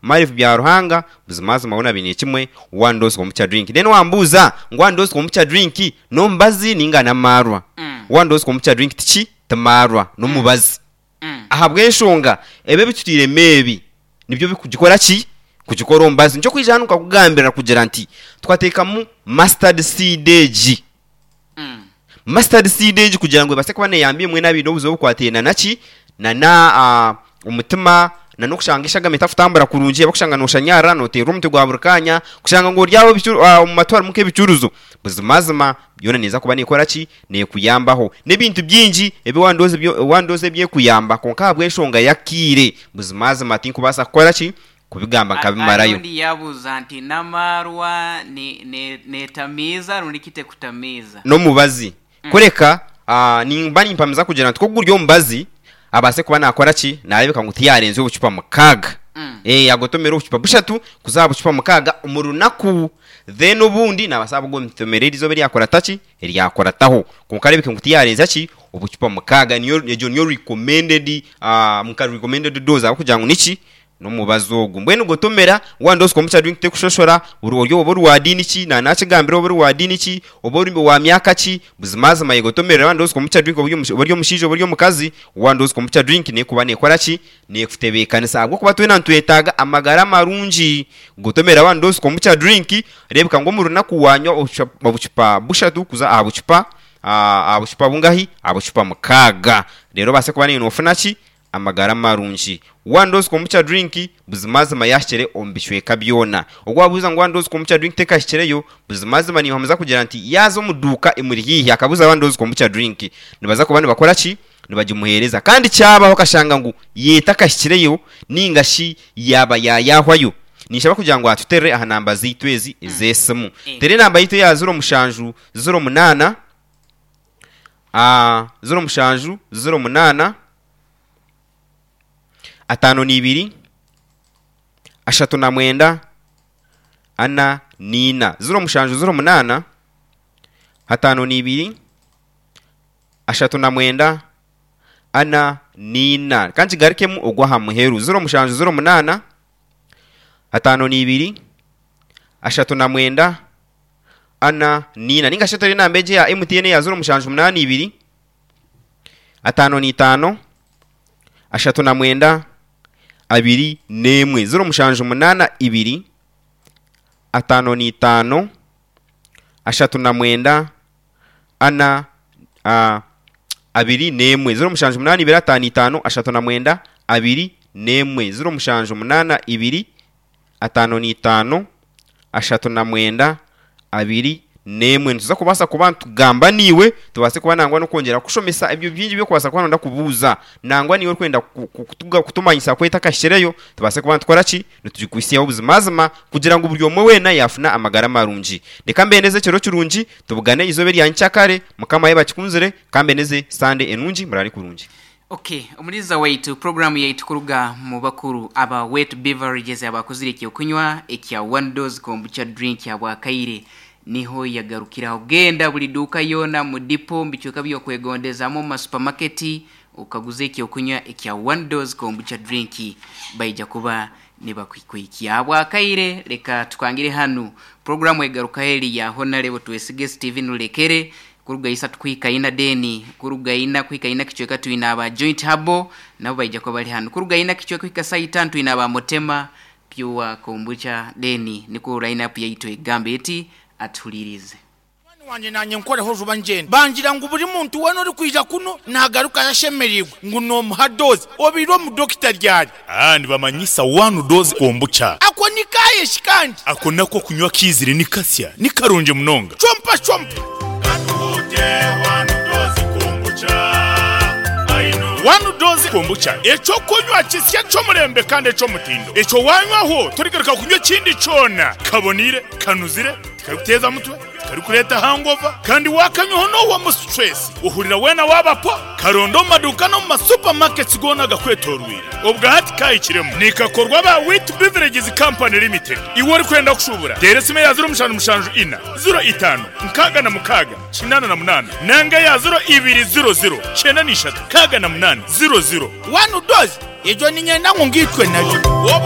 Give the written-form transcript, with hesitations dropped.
Marv Byaruhanga, Buzimazima hoona baine kimwe one dose kombucha drink. Then wambuuza ngu one dose kombucha drink n'omubazi ninga n'amaarwa? One dose kombucha drink tiki? Ti maarwa, n'omubazi. Ahabw'enshonga ebi ebitutairemu ebi nibyo birikugikora ki? Kugikora omubazi. Nikyo kwija hanu nkakugambira kugira nti twateekamu mustard seed egi. Mustard seed egi kugira ngu ebaase kuba neeyamba imwe n'abaine obuzibu obukwataine na ki? Na omutima, na n'okushanga eshagama etarikutambura kurungi, abarikushanga nooshanyarara, nooteerwa omutwe gwa buri kaanya, kushanga ngu ori aho omu matu harimu nk'ebicuruzo, buzimazima yoona neeza kuba neekora ki? Neekuyambaho. N'ebintu bingi ebi wandooza ebyekuyamba kwonka ahabw'enshonga y'akaire, buzimazima tinkubaasa kukora ki? Kubigamba nkabimarayo. Ondi yaabuuza nti, N'amaarwa neetamiiza rundi ki tekutamiiza? N'omubazi. Kureka nimba nimpamiza kugira nti ku guri omubazi, abaase kuba naakora ki? Naareebeka ngu tiyaarenzya obucupa mukaaga. Yaagotomera obucupa bushatu kuza aha bucupa mukaaga omu runaku. Then obundi naabaasa kugotomera eriizooba eryakurata ki? Eryakurataho. Kwonka areebeke ngu tiyaarenzya ki? Obucupa mukaaga. Niyo egyo niyo recommended nka recommended dose ahabw'okugira ngu niki? N'omubazi ogu. Mbwenu gotomera, waaba nooza omu drink tekushoshora, ori oba ori wa diini ki, na nakigambire oba ori wa diini ki, oba ori wa myaka ki, buzimazima yegotomerera waaba nooza omu drink oba ori omushaija oba ori omukazi, waaba nooza omu drink nekuba nekora ki? Nekutebeekanisa ahabw'okuba twena nitwetaaga amagara marungi. Gotomera waaba nooza omu drink, reebeka ngu omu runaku wanywa obucupa bushatu kuza aha bucupa aha bucupa bungahi? Aha bucupa mukaaga. Reero obaase kuba noofuna ki? Amagara marungi. One dose kombucha drink buzimazima yahikire omu bicweka byona. Ogu wabuuza ngu one dose kombucha drink tekahikireyo, buzimazima ninhamiza kugira nti yaaza omu duuka emuri haihi akabuuza one dose kombucha drink nibaza kuba nibakora ki? Nibagimuheereza. Kandi kyabaho akashanga ngu yo etakahikireyo ninga shi yaaba yaayahwayo, ninshaba kugira ngu atuterere aha namba zaitu ezi ez'esimu. Teera enamba yaitu eya ziro mushanju ziro munaana, 07 08 52 39 44. 07 08 52 39 44. Ka nkigarukemu ogw'aha muheru. 07 08 52 39 ana, n'ina. Ninga shi oteere enamba egi eya MTN eya 0782 55 39 21. 0782 55 39 ana, 21. 0782 55 39 21. 0782 55, 39, 21. Nituza kubaasa kuba nitugamba naiwe, tubaase kuba nangwa n'okwongyera kukushomesa ebyo bingi ebi orikubaasa kuba nooyenda kubuuza. Nangwa naiwe orikwenda kutumanyisa ku etakahikireyo, tubaase kuba nitukora ki? Nitugikuhitsyaho buzimazima kugira ngu buri omwe weena yaafuna amagara marungi. Reka mbendeze ekiro kirungi, tubugane eizooba erya nyikyakare. Mukama yaaba akikunzire, ka mbendeze Sande enungi. Muraare kurungi. Ok, Omuliza waitu, puroguraamu yaitu kuruga mu bakuru aba Wet Beverages abakozire ekyokunywa ekya One Dose Kombucha Drink habwakaire niho yagarukiraho. Genda buli duuka yoona, mu dipo, mu bicweka by'okwegondezaamu, omu masupamaketi okaguze ekyokunywa ekya One Dose Kombucha Drink baija kuba nibakuhikihikya. Habwakaire leka tukangire hanu. Puroguraamu egarukaho eri ya Honarebo Twesige Steven Rulekere Kuruga isatu kuhika ina then kuruga ina kuhika ina kicweka twine aba Joint Herbal nabo baija kuba bari hanu. Kuruga ina kicweka kuhika saha itano twine aba Motema Pure Kombucha then nikwo line up yaitu egamba eti atuhulirize. Munywani wangye naanye nkoreho juba ngyende. Bangira ngu buri muntu weena orikwija kunu naagarukayo ashemereirwe ngu noomuha doozi. Obaire omu dokita ryari? Aa nibamanyisa one dose kombucha. Ako ni kaaye shi kandi? Ako nako okunywa kaizire ni kasya, ni karungi munonga. Chompa chompa. Katuhute one dose kombucha, I know. One dose kombucha, eky'okunywa kisya eky'omurembe kandi eky'omutindo. Ekyo waanywaho torigaruka kunywa ekindi kyona. Kaboneire, kanuzire, tikarikuteeza mutwe. Tikarikureeta hangover kandi waakanywaho noohwamu stress ohurira weena waaba po. Karonde omu maduuka n'omu ma supermarkets goona agakwetooroire. Obwa hati kaahikiremu. Nikakorwa aba Wheat Beverages Company Limited. Iwe orikwenda kushuubura, teera esimu eya 0774 05 66 88 nanga eya 0200 93 00. One dose, egyo niinyenda ngu ngiitwe nayo. Obu.